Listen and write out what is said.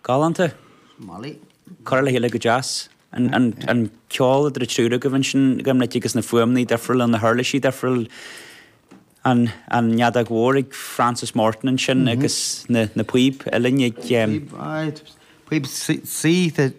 Galánta. Molly. Curtha le chéile go deas. An ceol idir an triúr agaibh ansin, Gobnait, agus na fuaimeanna difriúla, na huirlisí difriúla, an fheadóg mhór ag Francis Morton ansin agus na píob uillinn ag. Píob, aye, píob C, sinsear.